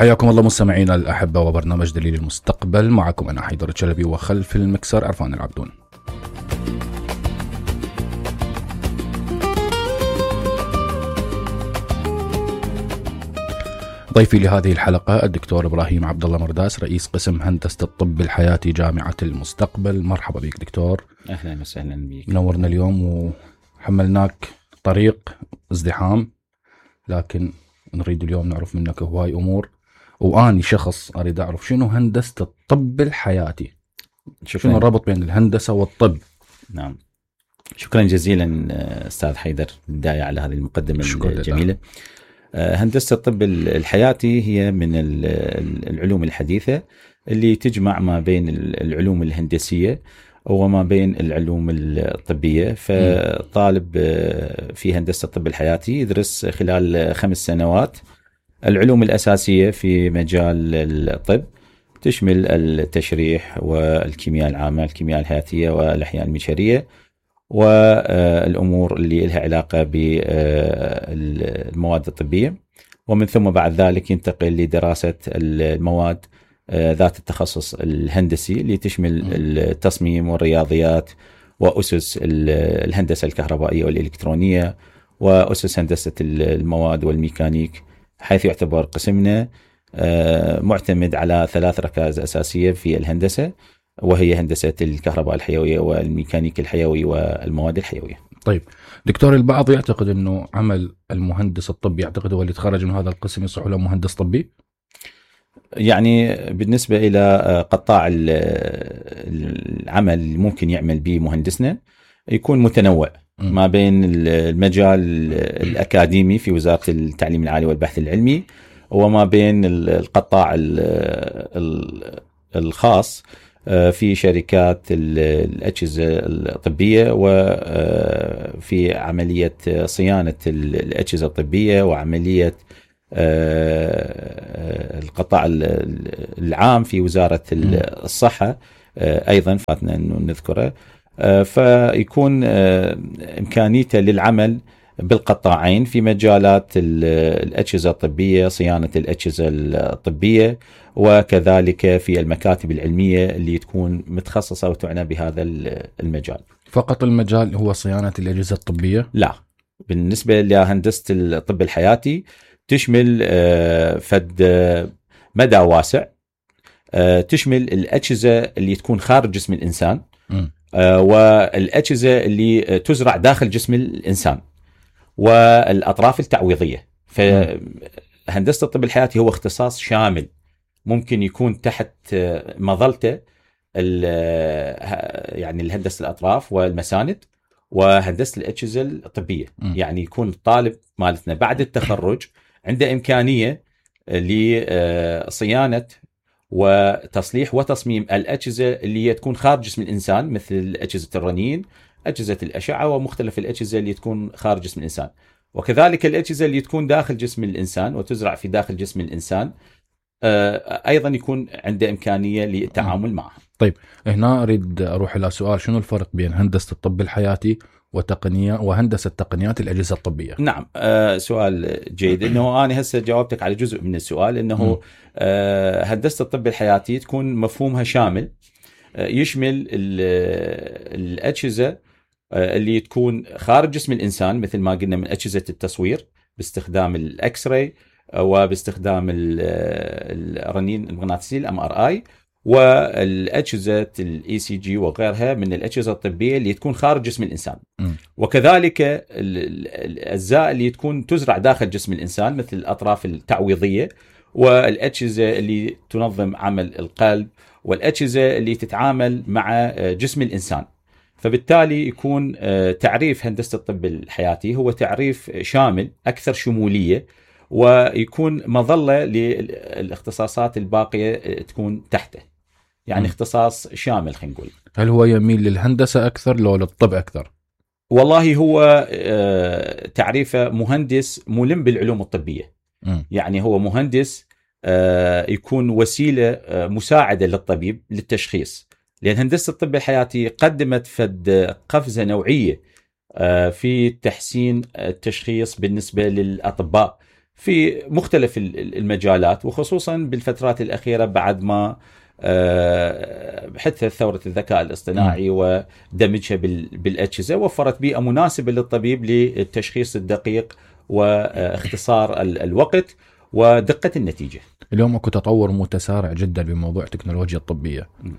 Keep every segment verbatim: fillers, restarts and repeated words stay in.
حياكم الله مستمعينا الأحبة وبرنامج دليل المستقبل. معكم أنا حيدر الشلبي وخلف المكسر عرفان العبدون. ضيفي لهذه الحلقة الدكتور إبراهيم عبد الله مرداس، رئيس قسم هندسة الطب الحياتي جامعة المستقبل. مرحبا بك دكتور. أهلا وسهلا بك. نورنا اليوم وحملناك طريق ازدحام، لكن نريد اليوم نعرف منك هواي أمور، وأني شخص أريد أعرف شنو هندسة الطب الحياتي. شكرا. شنو الربط بين الهندسة والطب؟ نعم، شكرا جزيلا أستاذ حيدر بداية على هذه المقدمة الجميلة. هندسة الطب الحياتي هي من العلوم الحديثة اللي تجمع ما بين العلوم الهندسية وما بين العلوم الطبية. فطالب في هندسة الطب الحياتي يدرس خلال خمس سنوات العلوم الأساسية في مجال الطب، تشمل التشريح والكيمياء العامة، الكيمياء الحياتية والأحياء المشرية، والأمور اللي لها علاقة بالمواد الطبية. ومن ثم بعد ذلك ينتقل لدراسة المواد ذات التخصص الهندسي اللي تشمل التصميم والرياضيات وأسس الهندسة الكهربائية والإلكترونية وأسس هندسة المواد والميكانيك، حيث يعتبر قسمنا معتمد على ثلاث ركائز أساسية في الهندسة، وهي هندسة الكهرباء الحيوية والميكانيك الحيوي والمواد الحيوية. طيب دكتور، البعض يعتقد أنه عمل المهندس الطبي، يعتقد هو اللي تخرج من هذا القسم يصح له مهندس طبي؟ يعني بالنسبة إلى قطاع العمل اللي ممكن يعمل به مهندسنا يكون متنوع ما بين المجال الأكاديمي في وزارة التعليم العالي والبحث العلمي، وما بين القطاع الخاص في شركات الأجهزة الطبية وفي عملية صيانة الأجهزة الطبية وعملية القطاع العام في وزارة الصحة أيضا فاتنا أنه نذكره. فيكون إمكانيته للعمل بالقطاعين في مجالات الأجهزة الطبية، صيانة الأجهزة الطبية، وكذلك في المكاتب العلمية اللي تكون متخصصة وتعنى بهذا المجال. فقط المجال هو صيانة الأجهزة الطبية؟ لا، بالنسبة لهندسة الطب الحياتي تشمل فد مدى واسع، تشمل الأجهزة اللي تكون خارج جسم الإنسان م. والأجهزة اللي تزرع داخل جسم الإنسان والأطراف التعويضية. فهندسة الطب الحياتي هو اختصاص شامل ممكن يكون تحت مظلته يعني الهندسة الأطراف والمساند وهندسة الأجهزة الطبية. م. يعني يكون الطالب مالتنا بعد التخرج عنده إمكانية لصيانة وتصليح وتصميم الأجهزة اللي تكون خارج جسم الإنسان، مثل أجهزة الرنين، أجهزة الأشعة، ومختلف الأجهزة اللي تكون خارج جسم الإنسان، وكذلك الأجهزة اللي تكون داخل جسم الإنسان وتزرع في داخل جسم الإنسان أيضا يكون عنده إمكانية للتعامل معها. طيب هنا أريد أروح إلى سؤال، شنو الفرق بين هندسة الطب الحياتي وتقنية وهندسة تقنيات الأجهزة الطبية؟ نعم، آه سؤال جيد. إنه أنا هسه جاوبتك على جزء من السؤال، إنه آه هندسة الطب الحياتي تكون مفهومها شامل، آه يشمل الأجهزة آه اللي تكون خارج جسم الإنسان، مثل ما قلنا من أجهزة التصوير باستخدام الأكس راي وباستخدام الرنين المغناطيسي الام ار اي، والأجهزة الاي سي جي وغيرها من الأجهزة الطبية اللي تكون خارج جسم الإنسان. م. وكذلك الأجزاء اللي تكون تزرع داخل جسم الإنسان، مثل الأطراف التعويضية والأجهزة اللي تنظم عمل القلب والأجهزة اللي تتعامل مع جسم الإنسان. فبالتالي يكون تعريف هندسة الطب الحياتي هو تعريف شامل أكثر شمولية، ويكون مظلة للاختصاصات الباقية تكون تحته، يعني م. اختصاص شامل خلينا نقول. هل هو يميل للهندسة أكثر لو للطب أكثر؟ والله هو تعريفه مهندس ملم بالعلوم الطبية. م. يعني هو مهندس يكون وسيلة مساعدة للطبيب للتشخيص، لأن هندسة الطب الحياتي قدمت فد قفزة نوعية في تحسين التشخيص بالنسبة للأطباء في مختلف المجالات، وخصوصا بالفترات الأخيرة بعد ما حدثت ثورة الذكاء الاصطناعي ودمجها بالأجهزة، وفرت بيئة مناسبة للطبيب للتشخيص الدقيق واختصار الوقت ودقة النتيجة. اليوم اكو تطور متسارع جدا بموضوع التكنولوجيا الطبية. م.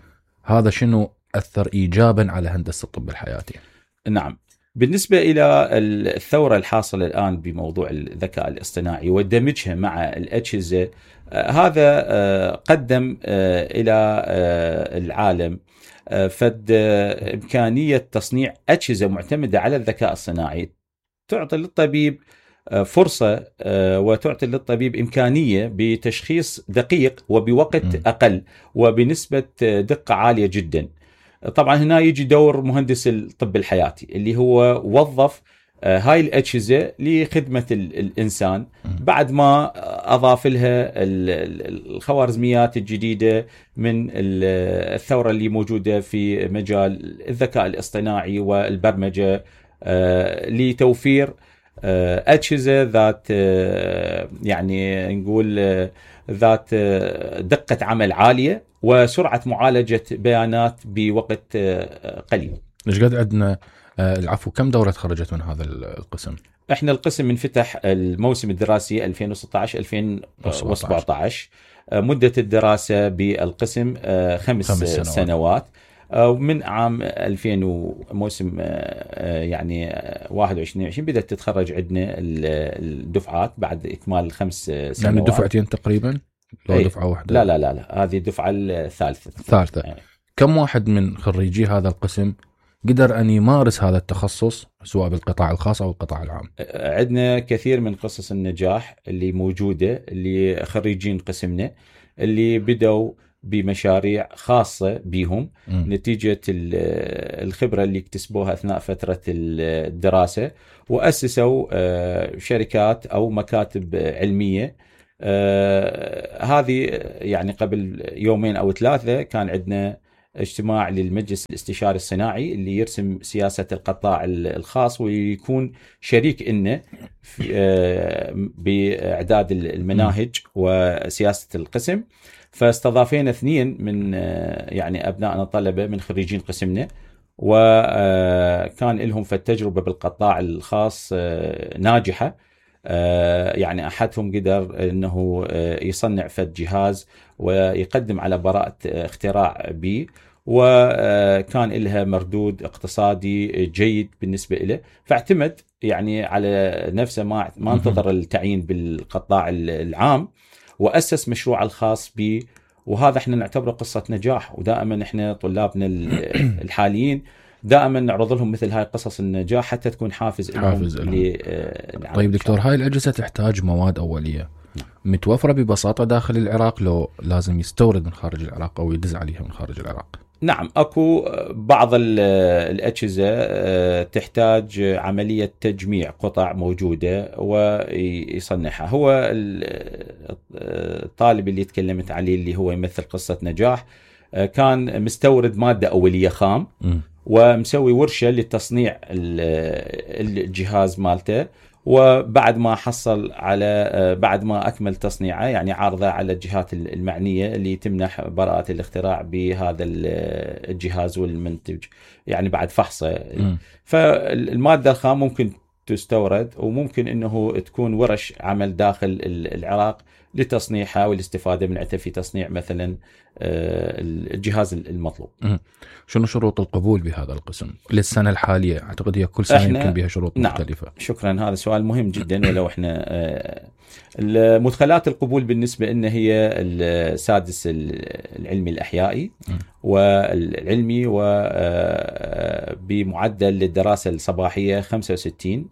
هذا شنو أثر إيجابا على هندسة الطب الحياتي؟ نعم، بالنسبة إلى الثورة الحاصلة الآن بموضوع الذكاء الاصطناعي ودمجها مع الأجهزة، هذا قدم إلى العالم فد إمكانية تصنيع أجهزة معتمدة على الذكاء الصناعي تعطي للطبيب فرصة وتعطي للطبيب إمكانية بتشخيص دقيق وبوقت أقل وبنسبة دقة عالية جدا. طبعا هنا يجي دور مهندس الطب الحياتي اللي هو وظف هاي الأجهزة لخدمة الإنسان بعد ما أضاف لها الخوارزميات الجديدة من الثورة اللي موجودة في مجال الذكاء الاصطناعي والبرمجة لتوفير أجهزة ذات يعني نقول ذات دقة عمل عالية وسرعة معالجة بيانات بوقت قليل. ليش قد عندنا العفو كم دورة خرجت من هذا القسم؟ احنا القسم انفتح الموسم الدراسي ألفين وستة عشر ألفين وسبعة عشر. مدة الدراسة بالقسم خمس, خمس سنوات, سنوات. ومن عام ألفين وموسم يعني واحد وعشرين عشرين بدأت تتخرج عندنا الدفعات بعد إكمال الخمس سنوات. يعني دفعتين تقريبا؟ لو دفعة واحدة؟ لا لا لا لا هذه الدفعة الثالثة. الثالثة. يعني. كم واحد من خريجي هذا القسم قدر أن يمارس هذا التخصص سواء بالقطاع الخاص أو القطاع العام؟ عندنا كثير من قصص النجاح اللي موجودة اللي خريجين قسمنا اللي بدوا بمشاريع خاصة بهم م. نتيجة الخبرة اللي اكتسبوها أثناء فترة الدراسة وأسسوا شركات أو مكاتب علمية. هذه يعني قبل يومين أو ثلاثة كان عندنا اجتماع للمجلس الاستشاري الصناعي اللي يرسم سياسة القطاع الخاص ويكون شريك إنه بإعداد المناهج وسياسة القسم. فاستضافينا اثنين من يعني أبنائنا الطلبة من خريجين قسمنا وكان لهم في التجربة بالقطاع الخاص ناجحة. يعني أحدهم قدر أنه يصنع فد جهاز ويقدم على براءة اختراع به وكان لها مردود اقتصادي جيد بالنسبة له، فاعتمد يعني على نفسه ما ما انتظر التعيين بالقطاع العام وأسس مشروع الخاص به. وهذا احنا نعتبره قصة نجاح، ودائما احنا طلابنا الحاليين دائما نعرض لهم مثل هاي قصص النجاح حتى تكون حافز لهم. طيب دكتور، هاي الأجهزة تحتاج مواد أولية متوفرة ببساطة داخل العراق لو لازم يستورد من خارج العراق أو يدز عليها من خارج العراق؟ نعم، أكو بعض الأجهزة تحتاج عملية تجميع قطع موجودة ويصنعها. هو الطالب اللي تكلمت عليه اللي هو يمثل قصة نجاح كان مستورد مادة أولية خام م. ومسوي ورشة لتصنيع الجهاز مالته، وبعد ما حصل على بعد ما أكمل تصنيعه يعني عارضه على الجهات المعنية اللي تمنح براءة الاختراع بهذا الجهاز والمنتج يعني بعد فحصه. م. فالمادة الخام ممكن تستورد وممكن أنه تكون ورش عمل داخل العراق لتصنيعها والاستفادة منها في تصنيع مثلا الجهاز المطلوب. م. شنو شروط القبول بهذا القسم للسنة الحالية؟ أعتقد هي كل سنة يمكن بها شروط نعم مختلفة. شكرا، هذا سؤال مهم جدا. ولو احنا المدخلات القبول بالنسبة إن هي السادس العلمي الأحيائي م. والعلمي وبمعدل للدراسة الصباحية خمسة وستين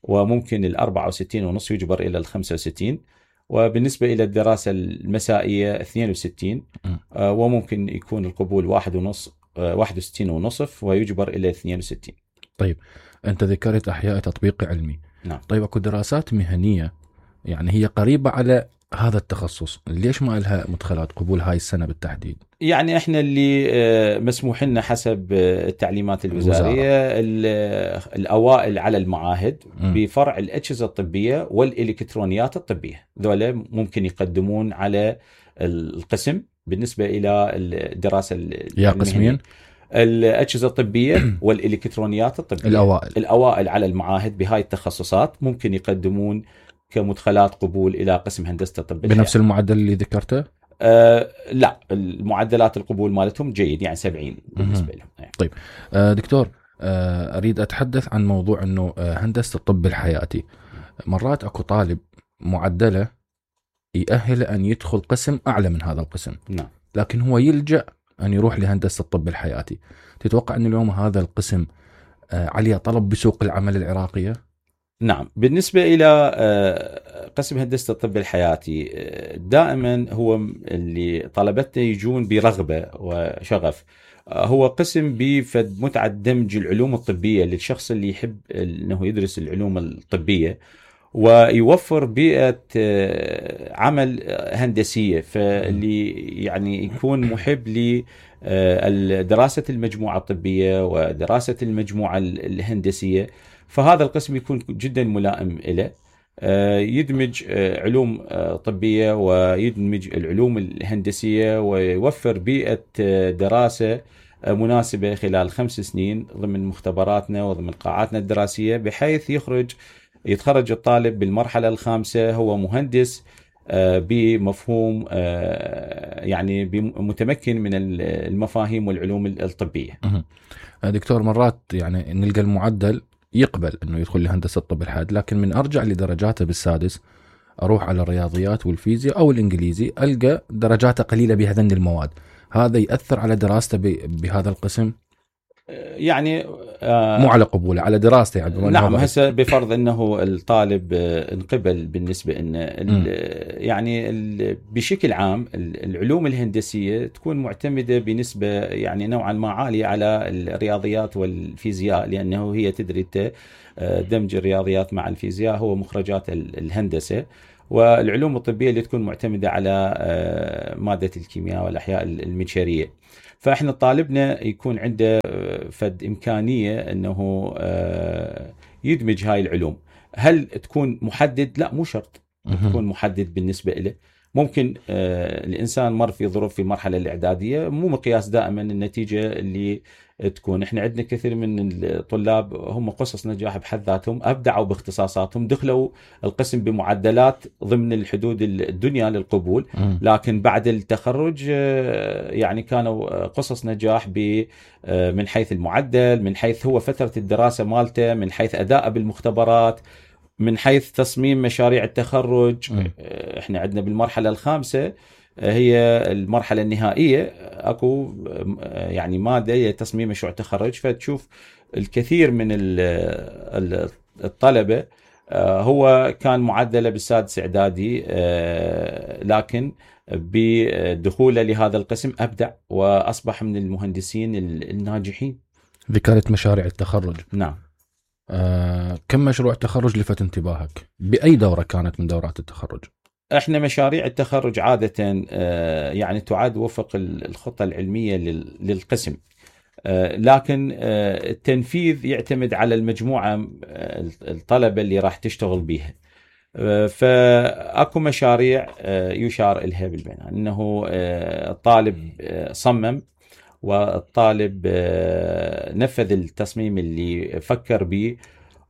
وممكن الأربعة وستين ونص يجبر إلى الخمسة وستين، وبالنسبة إلى الدراسة المسائية اثنين وستين م. وممكن يكون القبول واحد ونص واحد وستين ونصف ويجبر إلى اثنين وستين. طيب أنت ذكرت أحياء تطبيق علمي. نعم. طيب أكو دراسات مهنية يعني هي قريبة على هذا التخصص ليش ما لها مدخلات قبول هاي السنة بالتحديد؟ يعني احنا اللي مسموح لنا حسب التعليمات الوزارية الأوائل على المعاهد م. بفرع الأجهزة الطبية والإلكترونيات الطبية، ذولا ممكن يقدمون على القسم بالنسبة إلى الدراسة. يا قسمين؟ الأجهزة الطبية والإلكترونيات الطبية الأوائل الأوائل على المعاهد بهاي التخصصات ممكن يقدمون كمدخلات قبول إلى قسم هندسة الطب بنفس الحياة. المعدل اللي ذكرته؟ أه لا، المعدلات القبول مالتهم جيد، يعني سبعين بالنسبة لهم. طيب أه دكتور، أه أريد أتحدث عن موضوع أنه هندسة الطب الحياتي مرات أكو طالب معدله يأهل أن يدخل قسم أعلى من هذا القسم. نعم. لكن هو يلجأ أن يروح لهندسة الطب الحياتي. تتوقع أن اليوم هذا القسم أه عليه طلب بسوق العمل العراقية؟ نعم، بالنسبة إلى قسم هندسة الطب الحياتي دائما هو اللي طلبته يجون برغبة وشغف. هو قسم بفد متعة دمج العلوم الطبية للشخص اللي يحب أنه يدرس العلوم الطبية، ويوفر بيئة عمل هندسية، فاللي يعني يكون محب لدراسة المجموعة الطبية ودراسة المجموعة الهندسية، فهذا القسم يكون جدا ملائم له. يدمج علوم طبية ويدمج العلوم الهندسية ويوفر بيئة دراسة مناسبة خلال خمس سنين ضمن مختبراتنا وضمن قاعاتنا الدراسية، بحيث يخرج يتخرج الطالب بالمرحلة الخامسة هو مهندس بمفهوم يعني متمكن من المفاهيم والعلوم الطبية. دكتور، مرات يعني نلقى المعدل يقبل انه يدخل لهندسه الطب الحاد، لكن من ارجع لدرجاته بالسادس اروح على الرياضيات والفيزياء او الانجليزي القى درجاته قليله بهذين المواد، هذا ياثر على دراسته بهذا القسم؟ يعني آه مو على قبوله، على دراسته يعني. نعم، هسه بفرض انه الطالب انقبل بالنسبه ان يعني ال بشكل عام العلوم الهندسيه تكون معتمده بنسبه يعني نوعا ما عاليه على الرياضيات والفيزياء، لانه هي تدري دمج الرياضيات مع الفيزياء هو مخرجات الهندسه، والعلوم الطبيه اللي تكون معتمده على ماده الكيمياء والاحياء المنشريه. فاحنا طالبنا يكون عنده فد امكانيه انه يدمج هاي العلوم. هل تكون محدد؟ لا، مو شرط تكون محدد بالنسبه له. ممكن الانسان مر في ظروف في المرحله الاعداديه، مو مقياس دائما النتيجه اللي تكون. احنا عندنا كثير من الطلاب هم قصص نجاح بحد ذاتهم، ابدعوا باختصاصاتهم، دخلوا القسم بمعدلات ضمن الحدود الدنيا للقبول، لكن بعد التخرج يعني كانوا قصص نجاح من حيث المعدل، من حيث هو فترة الدراسة مالته، من حيث أداءه بالمختبرات، من حيث تصميم مشاريع التخرج. م. احنا عندنا بالمرحلة الخامسة هي المرحلة النهائية، اكو يعني مادة هي تصميم مشروع تخرج، فتشوف الكثير من الطلبة هو كان معدله بالسادس اعدادي، لكن بدخوله لهذا القسم ابدع واصبح من المهندسين الناجحين. ذكرت مشاريع التخرج. نعم. آه، كم مشروع تخرج لفت انتباهك؟ بأي دورة كانت من دورات التخرج؟ احنا مشاريع التخرج عادة آه يعني تعاد وفق الخطة العلمية للقسم، آه لكن آه التنفيذ يعتمد على المجموعة آه الطلبة اللي راح تشتغل بيها. آه فأكو مشاريع آه يشار إليها بالبناء أنه آه الطالب آه صمم، والطالب آه نفذ التصميم اللي فكر به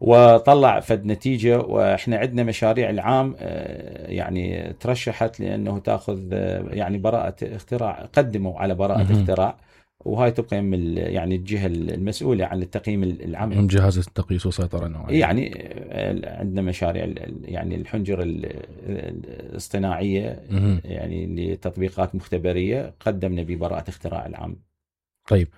وطلع فد نتيجة. وإحنا عندنا مشاريع العام يعني ترشحت لأنه تأخذ يعني براءة اختراع، قدموا على براءة م- اختراع، وهاي تبقى من يعني الجهة المسؤولة عن التقييم العملي، من جهاز التقييس والسيطرة النوعية. يعني عندنا مشاريع يعني الحنجرة الاصطناعية م- يعني لتطبيقات مختبرية، قدمنا ببراءة اختراع العام. طيب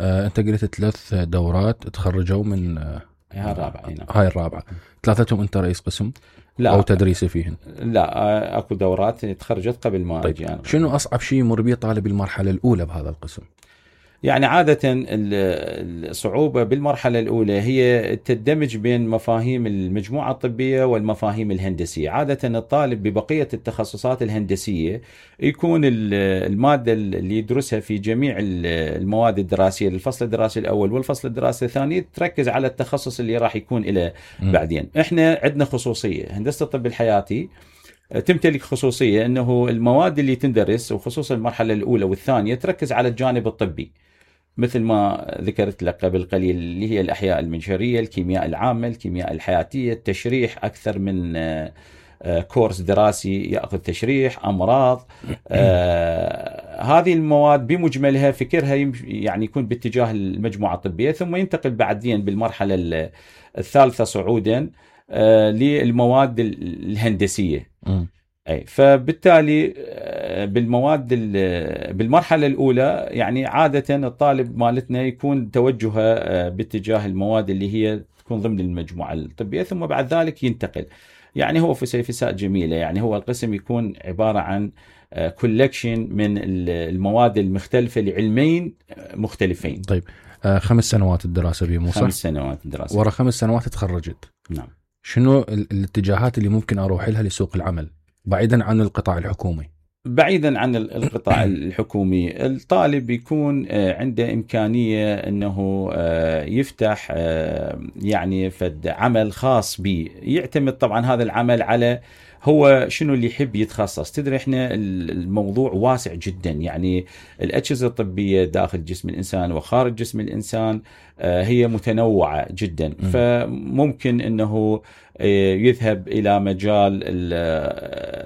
آه، أنت قلت ثلاث دورات تخرجوا من آه هاي الرابعة. هنا. هاي الرابعة، ثلاثتهم أنت رئيس قسم؟ لا، أو تدريسي فيهن؟ لا، أكو دورات تخرجت قبل ما طيب. أجي أنا. شنو أصعب شيء يمر به طالب المرحلة الأولى بهذا القسم؟ يعني عادة الصعوبة بالمرحلة الأولى هي التدمج بين مفاهيم المجموعة الطبية والمفاهيم الهندسية. عادة الطالب ببقية التخصصات الهندسية يكون المادة اللي يدرسها في جميع المواد الدراسية للفصل الدراسي الأول والفصل الدراسي الثاني تركز على التخصص اللي راح يكون إلى بعدين. إحنا عندنا خصوصية، هندسة الطب الحياتي تمتلك خصوصية أنه المواد اللي تندرس وخصوصا المرحلة الأولى والثانية تركز على الجانب الطبي، مثل ما ذكرت لك قبل قليل اللي هي الأحياء المنشرية، الكيمياء العامة، الكيمياء الحياتية، التشريح، أكثر من كورس دراسي يأخذ تشريح، أمراض. آه هذه المواد بمجملها فكرها يعني يكون باتجاه المجموعة الطبية، ثم ينتقل بعدين بالمرحلة الثالثة صعودا آه للمواد الهندسية. م. أي فبالتالي بالمواد بالمرحلة الأولى يعني عادة الطالب مالتنا يكون توجهه باتجاه المواد اللي هي تكون ضمن المجموعة الطبية، ثم بعد ذلك ينتقل. يعني هو فسيفساء جميلة، يعني هو القسم يكون عبارة عن كولكشن من المواد المختلفة لعلمين مختلفين. طيب خمس سنوات الدراسة بيه مو صح؟ خمس سنوات الدراسة. ورا خمس سنوات تخرجت. نعم. شنو الاتجاهات اللي ممكن أروح لها لسوق العمل بعيدا عن القطاع الحكومي؟ بعيدا عن القطاع الحكومي الطالب يكون عنده إمكانية أنه يفتح يعني فد عمل خاص به، يعتمد طبعا هذا العمل على هو شنو اللي يحب يتخصص. تدري احنا الموضوع واسع جدا، يعني الأجهزة الطبية داخل جسم الإنسان وخارج جسم الإنسان هي متنوعة جدا. م. فممكن أنه يذهب إلى مجال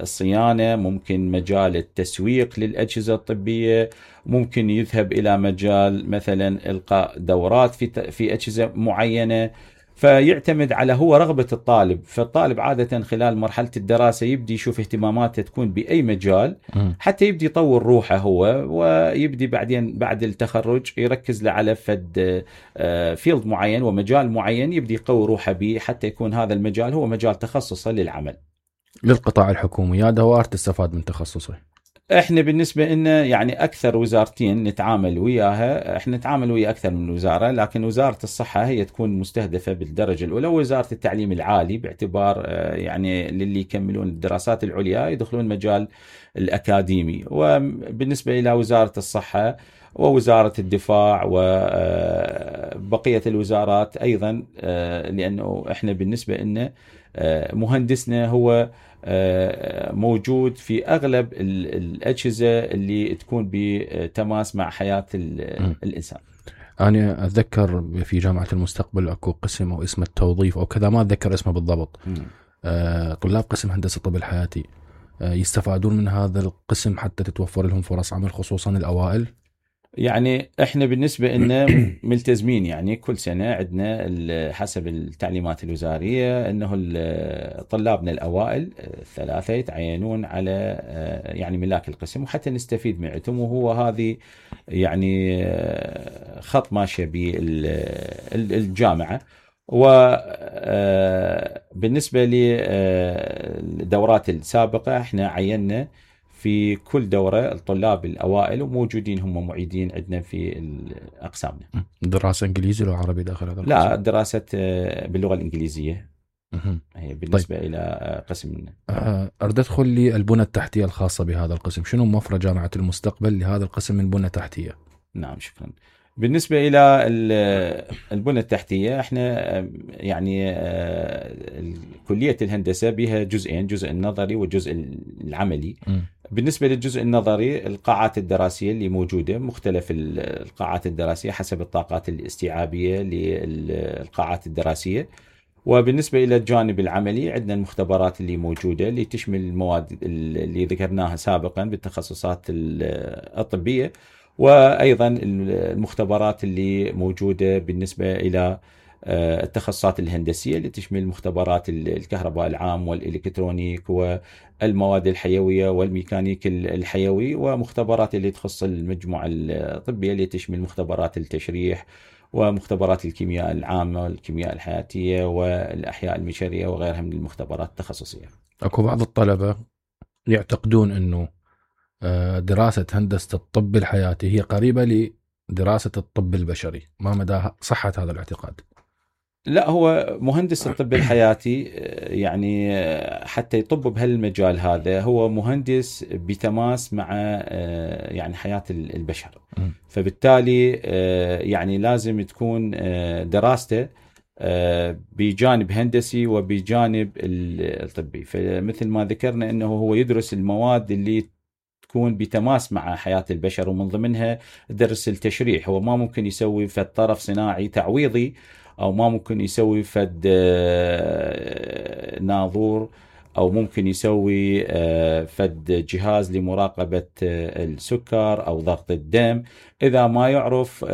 الصيانة، ممكن مجال التسويق للأجهزة الطبية، ممكن يذهب إلى مجال مثلا إلقاء دورات في في أجهزة معينة. فيعتمد على هو رغبة الطالب. فالطالب عادة خلال مرحلة الدراسة يبدي يشوف اهتماماته تكون بأي مجال حتى يبدي يطور روحه هو، ويبدي بعدين بعد التخرج يركز له على فد فيلد معين ومجال معين يبدي يقوي روحه به حتى يكون هذا المجال هو مجال تخصصه للعمل. للقطاع الحكومي يا دوار تستفاد من تخصصه؟ احنا بالنسبه لنا يعني اكثر وزارتين نتعامل وياها، احنا نتعامل ويا اكثر من وزاره، لكن وزاره الصحه هي تكون مستهدفه بالدرجه الاولى، ووزاره التعليم العالي باعتبار يعني للي يكملون الدراسات العليا يدخلون مجال الاكاديمي. وبالنسبه الى وزاره الصحه ووزاره الدفاع وبقيه الوزارات ايضا، لانه احنا بالنسبه لنا مهندسنا هو موجود في أغلب الأجهزة اللي تكون بتماس مع حياة الإنسان. أنا أتذكر في جامعة المستقبل أكو قسم أو اسمه التوظيف أو كذا، ما أتذكر اسمه بالضبط. م. طلاب قسم هندسة الطب الحياتي يستفادون من هذا القسم حتى تتوفر لهم فرص عمل خصوصا الأوائل. يعني احنا بالنسبه لنا ملتزمين، يعني كل سنه عندنا حسب التعليمات الوزاريه انه طلابنا الاوائل الثلاثه يتعينون على يعني ملاك القسم وحتى نستفيد معتهم، وهو هذه يعني خط ماشيه بالجامعه. وبالنسبه للدورات السابقه احنا عينا في كل دورة الطلاب الأوائل وموجودين هم معيدين عندنا في أقسامنا. دراسة إنجليزي ولا عربي داخل هذا القسم؟ لا، دراسة باللغة الإنجليزية. هي بالنسبة طيب. إلى قسمنا. أريد أدخل لي البنى التحتية الخاصة بهذا القسم، شنو موفرة جامعة المستقبل لهذا القسم من بنى تحتية؟ نعم شكرا. بالنسبة إلى البنى التحتية احنا يعني كلية الهندسة بها جزئين، جزء النظري والجزء العملي. م. بالنسبة للجزء النظري القاعات الدراسية اللي موجودة مختلف القاعات الدراسية حسب الطاقات الاستيعابية للقاعات الدراسية. وبالنسبة إلى الجانب العملي عندنا المختبرات اللي موجودة اللي تشمل المواد اللي ذكرناها سابقا بالتخصصات الطبية، وأيضا المختبرات اللي موجودة بالنسبة إلى التخصصات الهندسية اللي تشمل مختبرات الكهرباء العام والإلكترونيك والمواد الحيوية والميكانيك الحيوي، ومختبرات اللي تخص المجموعة الطبية اللي تشمل مختبرات التشريح ومختبرات الكيمياء العامة والكيمياء الحياتية والأحياء المشرية وغيرها من المختبرات التخصصية. أكو بعض الطلبة يعتقدون أنه دراسة هندسة الطب الحياتي هي قريبة دراسة الطب البشري، ما مدى صحة هذا الاعتقاد؟ لا، هو مهندس الطب الحياتي يعني حتى يطب بهالمجال هذا هو مهندس بتماس مع يعني حياة البشر، فبالتالي يعني لازم تكون دراسته بجانب هندسي وبجانب الطبي. فمثل ما ذكرنا أنه هو يدرس المواد اللي تكون بتماس مع حياة البشر، ومن ضمنها درس التشريح. هو ما ممكن يسوي فد طرف صناعي تعويضي، أو ما ممكن يسوي فد ناظور، أو ممكن يسوي فد جهاز لمراقبة السكر أو ضغط الدم إذا ما يعرف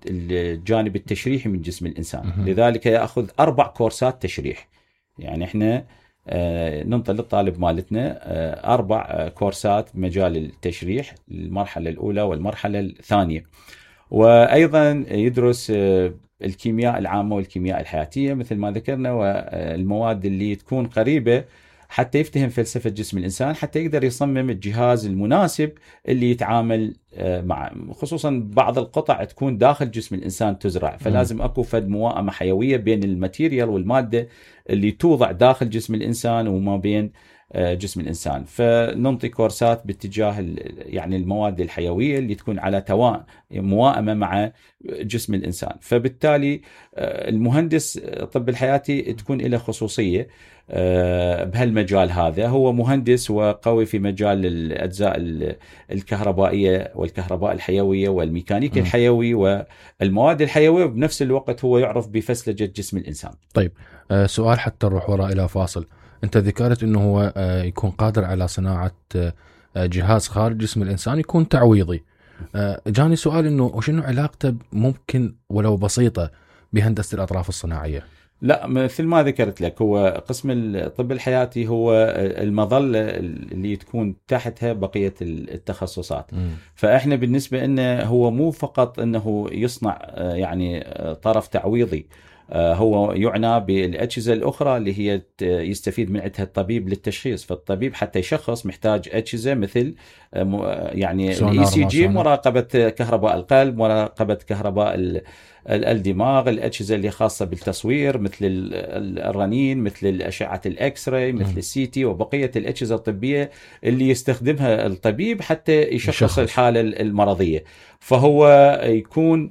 الجانب التشريحي من جسم الإنسان. لذلك يأخذ أربع كورسات تشريح. يعني إحنا ننطي للطالب مالتنا أربع كورسات بمجال التشريح، المرحلة الأولى والمرحلة الثانية. وأيضا يدرس الكيمياء العامة والكيمياء الحياتية مثل ما ذكرنا، والمواد اللي تكون قريبة حتى يفتهم فلسفة جسم الإنسان، حتى يقدر يصمم الجهاز المناسب اللي يتعامل مع، خصوصا بعض القطع تكون داخل جسم الإنسان تزرع، فلازم أكو فد موائمة حيوية بين الماتيريال والمادة اللي توضع داخل جسم الإنسان وما بين جسم الإنسان. فننطي كورسات باتجاه يعني المواد الحيوية اللي تكون على توا موائمة مع جسم الإنسان. فبالتالي المهندس الطب الحياتي تكون له خصوصية بهالمجال هذا. هو مهندس وقوي في مجال الأجزاء الكهربائية والكهرباء الحيوية والميكانيكا الحيوي والمواد الحيوية، وبنفس الوقت هو يعرف بفسلجة جسم الإنسان. طيب سؤال حتى نروح وراء إلى فاصل. أنت ذكرت أنه هو يكون قادر على صناعة جهاز خارج جسم الإنسان يكون تعويضي. جاني سؤال أنه وشنو علاقته ممكن ولو بسيطة بهندسة الأطراف الصناعية؟ لا، مثل ما ذكرت لك، هو قسم الطب الحياتي هو المظلة اللي تكون تحتها بقية التخصصات. م. فإحنا بالنسبة لنا هو مو فقط أنه يصنع يعني طرف تعويضي، هو يعنى بالأجهزة الأخرى اللي هي يستفيد من عندها الطبيب للتشخيص. فالطبيب حتى يشخص محتاج أجهزة مثل يعني الإي سي جي، مراقبة كهرباء القلب، مراقبة كهرباء الدماغ، الأجهزة اللي خاصة بالتصوير مثل الرنين، مثل الأشعة الإكس راي، مثل السي تي، وبقية الأجهزة الطبية اللي يستخدمها الطبيب حتى يشخص الحالة المرضية. فهو يكون